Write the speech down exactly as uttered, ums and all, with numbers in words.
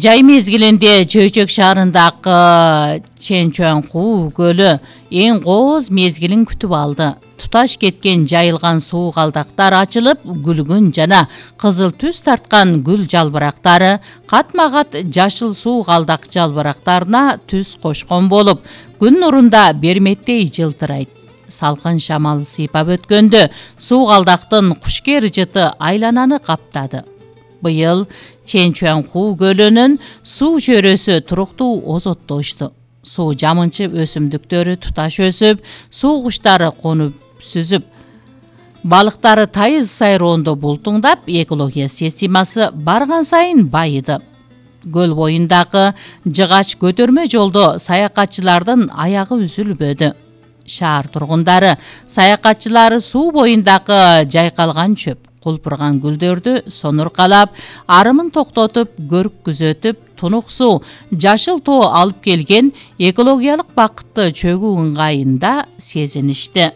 Жай мезгилинде Чөйчөк шаарындагы Чэнчуанху көлү эң кооз мезгилин күтүп алды. Туташ кеткен жайылган суу калдактар ачылып, гүлгүн жана кызыл түс тарткан гүл жалбырактары катма-кат жашыл суу калдак жалбырактарына түс кошкон болуп, күн нурунда берметтей жылтырайт. Салкын шамал сыйпап өткөндө суу калдактын кушкер жыты айлананы каптады. Быйыл Чэнчуанху көлүнүн суу чөйрөсү туруктуу озоттошту. Суу жамынчы өсүмдүктөрү туташ өсүп, суу куштары конуп сүзүп, балыктары тайыз сайроондо бултуңдап, экология системасы барган сайын байыды. Көл боюндагы жыгач көтөрмө жолдо саякатчылардын аягы үзүлбөдү. Шаар тургундары саякатчылары суу боюндагы жайкалган чөп, кулпурган гүлдөрдү сонуркалап, арымын токтотуп, көрүк күзөтүп, тунук суу, жашыл тоо алып келген экологиялык бакытты чөгүү ыңгайында сезиништи.